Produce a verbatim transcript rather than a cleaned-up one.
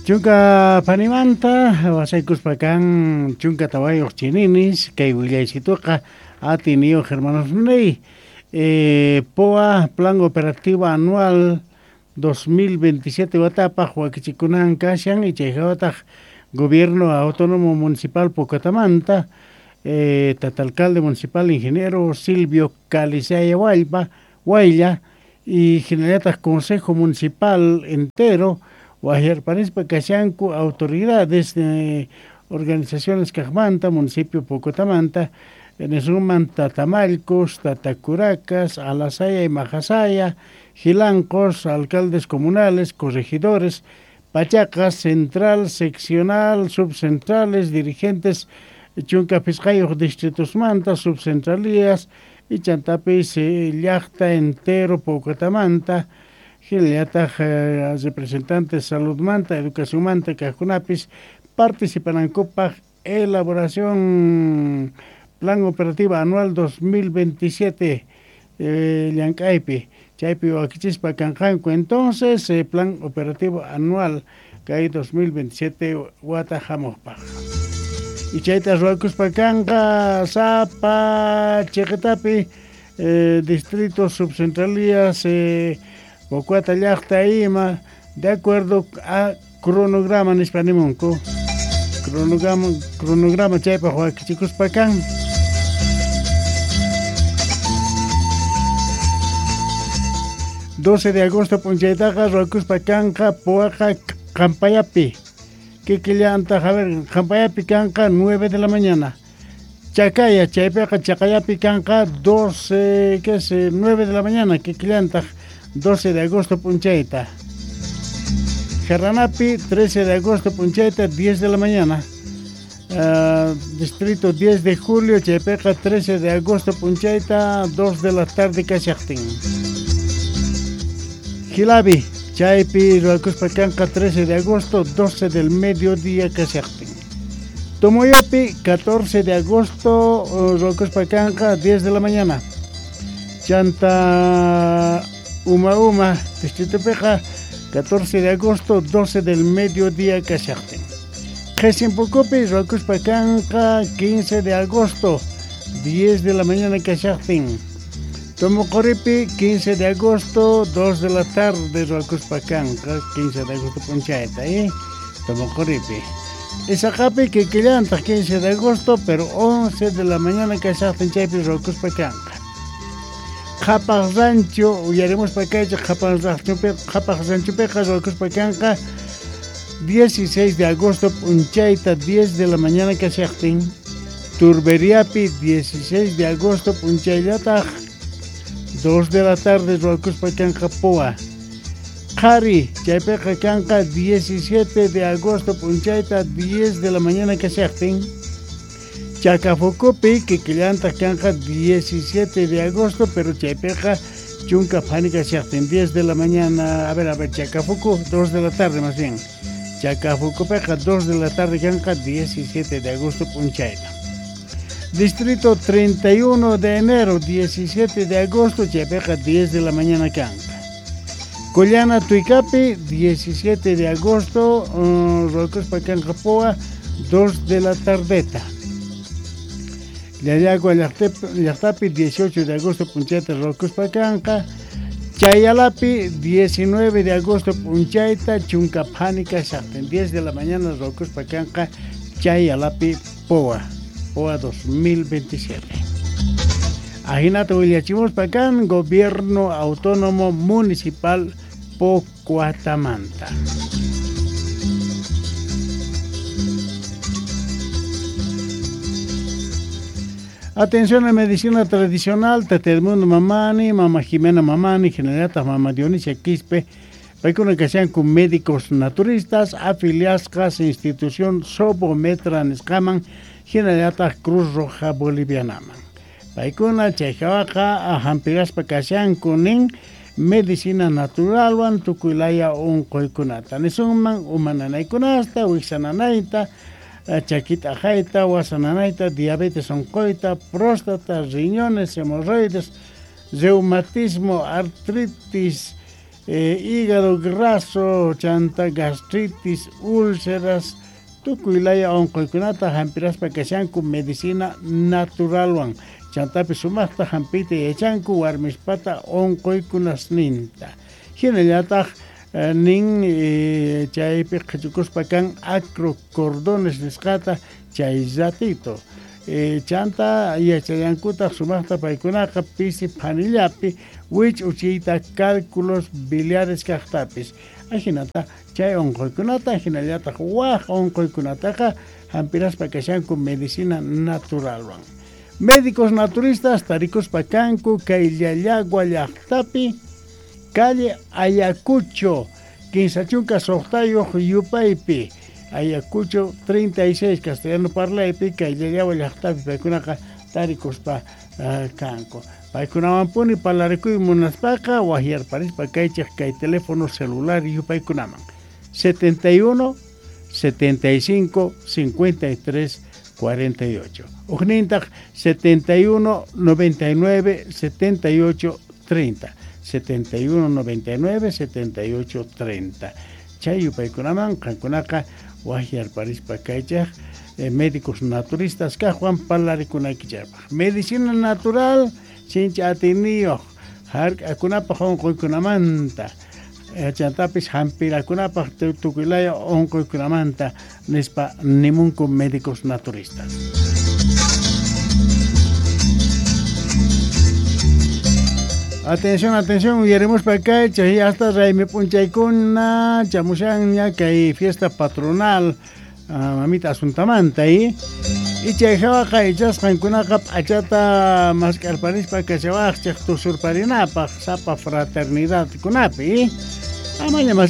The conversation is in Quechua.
Chunka phanimanta wasaykuspa kan chunka tawayuq chininis kay willaysituqa atiniyuq hermanosniy eh, P O A Plan Operativo Anual dos mil veintisiete watapaq wakichikunan kashan y chayhawataq Gobierno Autónomo Municipal Pocotamanta eh, tata alcalde municipal ingeniero Silvio Calizaya Huaylla, Huaylla y hinallataq Consejo Municipal entero waqyarparispa kashanku autoridades de organizaciones kaqmanta municipio Pocotamanta nisunman Tatamalcos, Tatacuracas, Alasaya y Majasaya, Gilancos, alcaldes comunales, corregidores, Pachacas, central, seccional, subcentrales, dirigentes chunka phisqayuq distritosmanta, subcentralías y chantapis llaqta entero Pocotamanta, hinallataq eh, representantes saludmanta, educacionmanta kaqkunapis participanankupaq elaboración Plan Operativo Anual dos mil veintisiete eh, llank'aypi chaypi wakichispa kanqanku entonces eh, Plan Operativo Anual kay dos mil veintisiete wata hamuqpaq y chayta ruwakuspa kanqa sapa chiqitapi eh, distritos subcentralías eh, Pocuata llaqta ima de acuerdo a cronograma nispa nimunku cronograma cronograma chaypaq wakichikuspa kan. doce de agosto p'unchaytaqa ruwakuspa kanqa Poaqa Qampayapi kikillantaq a ver Qampayapi kanqa nueve de la mañana Chacaya chaypiqa Chaqayapi kanqa doce que es nueve de la mañana kikillantaq doce de agosto p'unchayta Jarranapi trece de agosto p'unchayta diez de la mañana uh, distrito diez de julio chaypiqa trece de agosto p'unchayta dos de la tarde kashaqtin Gilabi, chaypi ruwakuspa kanqa trece de agosto, doce del mediodía kashaqtin. Tomoyopi, catorce de agosto, ruwakuspa kanqa diez de la mañana. Chanta Uma Uma, distrito Peja, catorce de agosto, doce del mediodía kashaqtin. Qesimpukupi, ruwakuspa kanqa quince de agosto, diez de la mañana kashaqtin. Tomoqoripi, quince de agosto, dos de la tarde, ruwakuspa kanqa, quince de agosto p'unchayta, ¿eh? Tomoqoripi. Isaqapi, kikillantaq, quince de agosto, pero once de la mañana kashaqtin chaypi ruwakuspa kanqa. Qhapaq Rancho, uyarimuspa kaychik, Qhapaq Ranchopi, Qhapaq Ranchopiqa ruwakuspa kanqa, dieciséis de agosto p'unchayta, diez de la mañana kashaqtin. Turberiapi, dieciséis de agosto p'unchayllataq, dos de la tarde ruwakuspa kanqa Poa. Qhari, chaypiqa kanqa diecisiete de agosto p'unchayta, diez de la mañana kashaqtin. Chacafucupi, kikillantaq kanqa diecisiete de agosto, pero chaypiqa chunka phani kashaqtin, diez de la mañana, a ver, a ver, Chacafucu, dos de la tarde más bien. Chacafucupiqa dos de la tarde kanqa diecisiete de agosto p'unchayta. Distrito treinta y uno de enero, diecisiete de agosto, chaypiqa diez de la mañana kanqa. Collana Tuicapi, diecisiete de agosto, uh, ruwakuspa kanqa Poa, dos de la tardeta. Llallagua llaqtapi, dieciocho de agosto, p'unchayta ruwakuspa kanqa. Chayalapi, diecinueve de agosto, p'unchayta, chunka phani kashaqtin, diez de la mañana ruwakuspa kanqa Chayalapi Poa. P O A dos mil veintisiete. Ajinata willachimuspa kan Gobierno Autónomo Municipal Pocuatamanta. Atención a medicina tradicional, Tata Edmundo Mamani, Mama Jimena Mamani, Generata Mama Dionisia Quispe, paykuna kashanku médicos naturistas, afiliasqas institución Sobometra nisqaman, hinallataq Cruz Roja Bolivianaman. Paykuna chayhawaqa hampiraspa kashanku nin medicina naturalwan tukuylaya unquykunata. Nisunman umananaykunasta, wiksananayta, chakita ajayta, wasananayta, diabetes unquyta, próstata, riñones, hemorroides, reumatismo, artritis, eh, hígado graso, chanta gastritis, úlceras, tukuy laya unquykunata hampiraspa kashanku medicina naturalwan. Chantapi sumaqta hampiyta yachanku warmispata unquykunasninta. Hinallataq eh, nin eh, chaypi qhichukuspa kan acrocordones nisqata chay ratito. Eh, chanta yachallankutaq sumaqta paykunaqa pisi phanillapi wich'uchiyta cálculos biliares kaqtapis. Ajinata chay unquykunata hinallataq waq unquykunataqa hampiraspa kashanku medicina naturalwan. Médicos naturistas tarikuspa kanku kay Llallagua llaqtapi calle Ayacucho kinsa chunka suqtayuq yupaypi Ayacucho treinta y seis castellano parlaypi kay Llallagua llaqtapi paykunaqa tarikuspa uh, kanku. Paykunawanpuni parlarikuy munaspaqa waqyarparispa kaychik kay teléfono celular yupaykunaman setenta y uno, setenta y cinco, cincuenta y tres, cuarenta y ocho. Ujnintaq setenta y uno, noventa y nueve, setenta y ocho, treinta. setenta y uno, noventa y nueve, setenta y ocho, treinta. Chay yupaykunaman qankunaqa waqyarparispa kaychik eh, médicos naturistas kaqwan parlarikunaykicharpaq. Medicina natural sinchi atiyniyuq hark'akunapaq unquykunamanta chantapis hampirakunapaq tukuylaya unquykunamanta nispa nimunku médicos naturistas. Atención, atención, uyarimuspa kaychik hasta raymi p'unchaykuna chamushanña kay fiesta patronal uh, mamita Asuntamanta y chay hawaqa ichasqankunaqa p'achata mask'arparispa kashawaqchik tusurparinapaq sapa fraternidad kunapi amaña